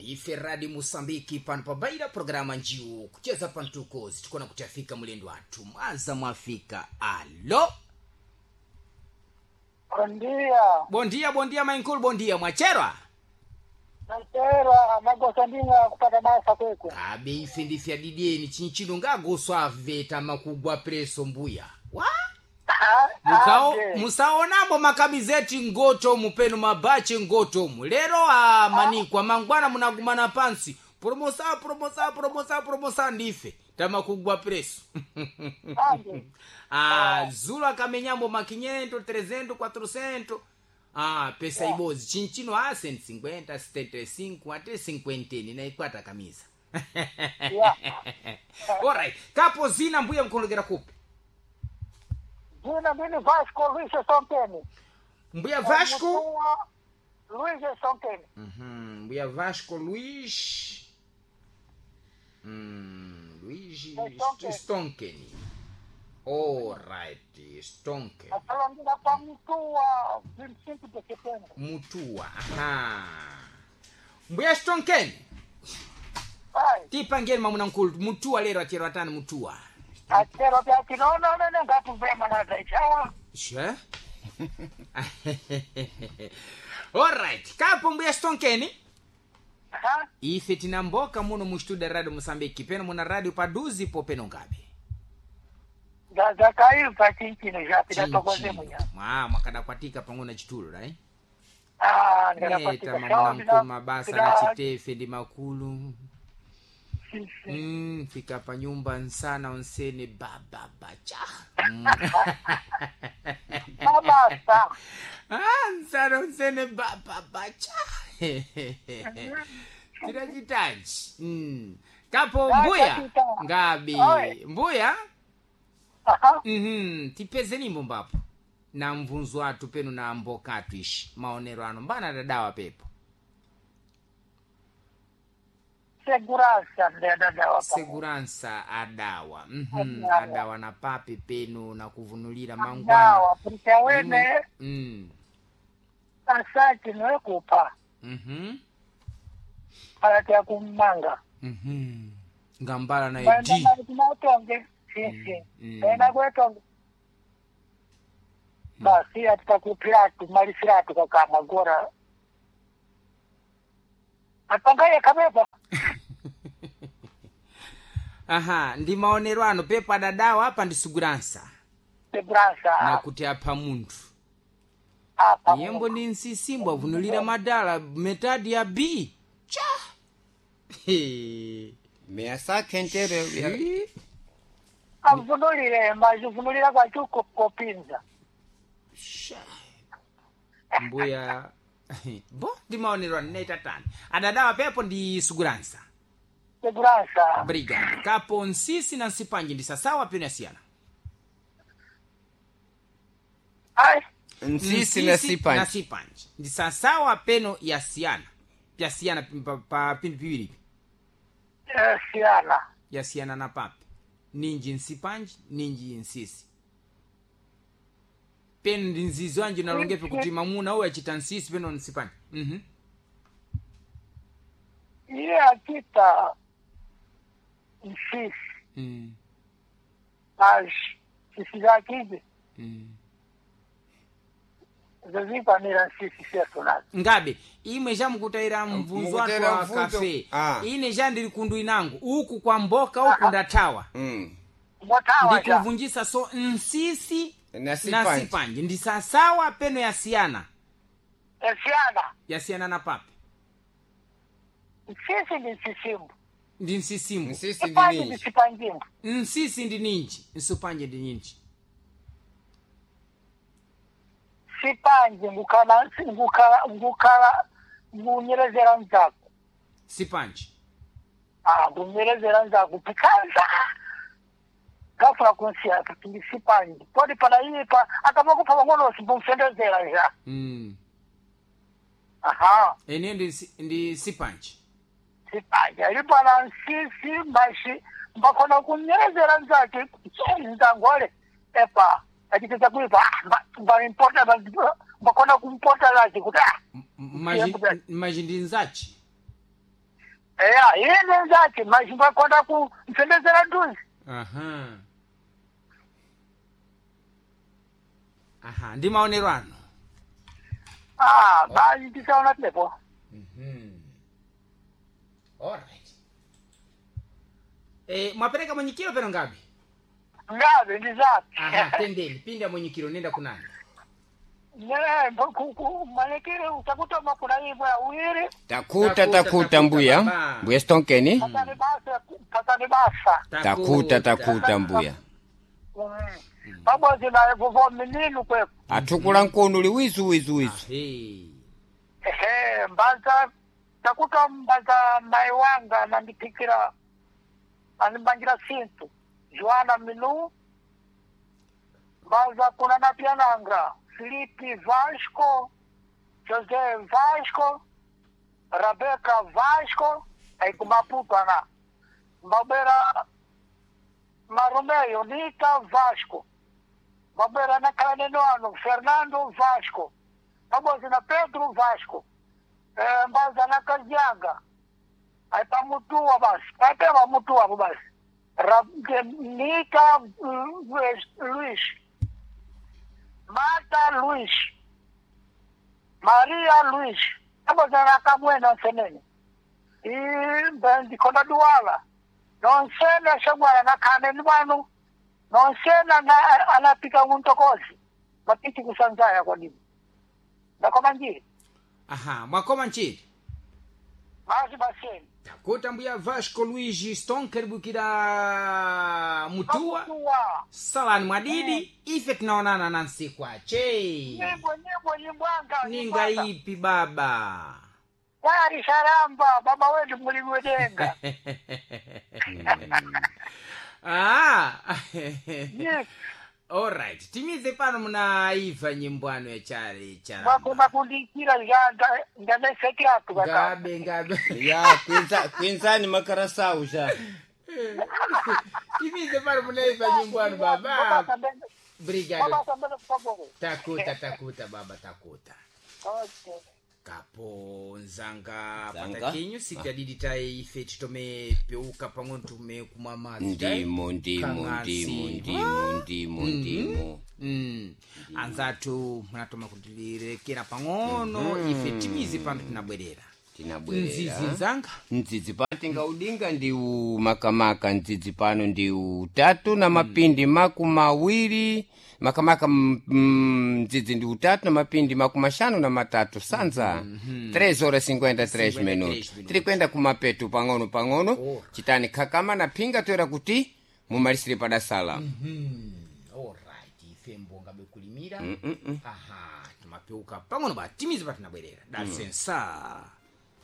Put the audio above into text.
Ndife Radi Musambiki pano pabaira programa njiwu kucheza pantukozi tikona kuti afika mulendo athu mwaza mwafika. Alo. Bondia. Bondia, bondia mainkulu, bondia mwacherwa. Nachera magosa ndinga kupata basa kwekwe. Abe ife ndife adidieni chinchino ngagoswa aveta makugwa preso mbuya wa mukao musaonambo makamizeti ngoto mupenu mabache ngotomu lero a manikwa mangwana munagumana pansi promosa promosa promosa promosa ndife tamakugwa preso. Ande. Ah, zulu akamenyambo ma 500 300 400, ah, pesa ibozi chinchino a 150 75 ate 50 naikwata kamisa. Yeah. Alright, kapo zina mbuya mkondokera kupi? Jina mimi Vasco Luis Sonteni. Mbuya Vasco. Mutua Luis Sonteni. Mbuya Vasco Luis Luis Stonken. Stonkeni. Alright, Stonken. Asalongira pa Mutua 25 de setembro. Mutua. Aha. Mbuya Stonkeni. Ai, Tipangeni mamuna nkulu mutua lero achero atani mutua. achero pya chinono nene ngatuvema na zaichawa. Sure. Alright, kapo mbuya Stonkeni. Ha? Ife tinamboka muno mu studio radio Mosambiki peno muna radio paduzi po peno ngabe. Zakaiva chinchino zvapi tokoze munya. Mwa mwakadakwatika pang'ono na chitulo right? Ah, Neta ndakapatika. mamuna nkulu mabasa na chitefe ndi makulu. Fika pa nyumba nsana onsene baba bacha. Mabasa. Ah, nsana onsene baba bacha. Tirachitanji. Kapo mbuya chita. ngabi Oi. mbuya. Aha. Tipeze nimbo mbapo na mvunzo athu penu na mboka athu ishi maonero ano mbana dadawa pepo. Segurança ndadadawa. Segurança adawa. Adawa. Adawa na papi penu na kuvunulira mangwana. Dawa, porque awene asati noekupa alati akumanga. Ngambala na Baenda ed kumatonge sisi. Baenda kwetonge. Basi atikakupiratu malisiratu kakama gora. Apangaye kabepa. Aha, ndi maonero ano pepo adadawa apa ndi segurança Segurança na kuti apha munthu apa. yembo ni nsisimbo avunulira madala metadi ya b cha. He. Measa khentere Ih. Avunulire mazivunulira kwachuko kopinza. Sha. Mbuya bo ndi maonero ano naitatani adadawa pepo ndi segurança. Segurança. Obrigado. Kapo nsisi na nsipanji ndi sasawa peno yasiyana. Ai. Nsisi na na sipanji sipanji ndi sasawa peno yasiyana yasiyana pa pindu piwiripi. Siana. Yasiyana na papi ninji nsipanji ninji nsisi peno ndi nzizi wanji nalongepe kuti mamuna uyu achita nsisi peno nsipanji. Iye achita nsisi. Mas sisi zakizi zozikwanira nsisi sesonazo. Ngabe imwe chamukutayira mvunzo watu Mukutayira wa mvunzo. kafe. Ah. Ine chandili kundu inangu uku kwa mboka uku ndathawa. Motawa ja. Ndikuvunjisa so nsisi Na na sipanji. sipanji ndi sasawa peno yasiyana. Siana. Yasiyana na papi. Nsisi ndi nsisimbu. Ndi nsisimbu. Nsisi ndi Sipanji ndi ninji sipanjimbu. Nsisi ndi ninji nsupanje ndi ninji. Sipanji ngukhala ngukhala ngukhala ngunyerezera nzako. Sipanji. Ah, ngunyerezera nzako pikanza. Gafuna kunsiya kuti ndi sipanji. Podi pana ipa akamakupa pang'ono simbumsendezera ja. Aha. Ene ndi ndi sipanji. Sipanji ali pana nsisi mashi mbakhona kunyerezera nzake nzangole epa achiteza kuipa mbaimporta mbakhona kumpota lachi kuti ah Maji ndi nzachi. Eya, iye nzake mazimba konda ku mfendezera nduzi. Aha. Aha, ndi maonero ano. Ah, basi ndisaona tepo. Alright. Mwapereka mwenyikiro peno ngapi? Ngabe ndizake. Aha, tendeni, pinda mwenyikiro nenda kunani. Ne, malekere utakutoma kuna ibwa awiri. Takuta Takuta, takuta takuta, mbuya. baba. Mbuya Stonkeni. Patani basa, patani basa. Takuta takuta mbuya. Pamodzi naye kuvo mininu kweko. Atukula nkonu liwizu wizu wizu. Ahe. Ehe, mbanza takuta mbanza mai wanga anandipikira animbangira sintu Joana Minu mbanza kuna napiananga Filipe Vasco José Vasco Rebeca Vasco aí kumaputo ana mbabera Marumeyo Nita Vasco mbabera nakhala ano Fernando Vasco pamodzi na Pedro Vasco mbaza na Kazianga aí pamutua basi até pamutua basi Nica Luiz Marta Luiz Maria Luiz pamodzi na Kamwena nsenene e ndikonda duwala nonsena shagwala na khaneni wanu nonsena na anapika muntokozi mapiti kusanzaya kwadini ndakoma njiri Aha, mwakoma nchiri. basi baseni Takuta mbuya Vasco Luigi Stonker bukira mutua. Mutua. Salani mwadidi, ife tunaonana na nsiku ache. Nyimbo nyimbo nyimbwanga Ninga ipi baba? Kwari sharamba baba wetu mulimi wedenga. Ah. Yes. Alright, timize pano munaiva nyimbwano ya chali charamba. Mwakoma kundikira zanda ndanesekiratu kaka. Ngabe ngabe. Ya kwinza kwinzani makarasau ja. Timize pano munaiva nyimbwano baba. Brigado. Baba sambele kupagogo. Takuta takuta baba takuta. Okay. Kapo nzanga Nzanga. patakinyu sitadidi tai ife titome peuka pang'ono tume kumwa madzi tai. Ndimo ndimo Kang'asi. ndimo ndimo ndimo ndimo. Anzathu munatoma kutirekera pang'ono ife timize pano tinabwerera Tinabwerera. nzizi nzanga Ndzidzi patinga udinga ndiu makamaka ndzidzi pano ndiu tatu na mapindi makumawiri makamaka ndzidzi ndi utatu na mapindi makumashanu na matatu sanza 3 horas 53 minutos minutos. tiri kwenda kumapetu pang'ono pang'ono Alright. chitani khakama na phinga toera kuti mumalisire padasala Alright, ife mbonga bekulimira aha timapeuka pang'ono ba timize pa tinabwerera dasensa.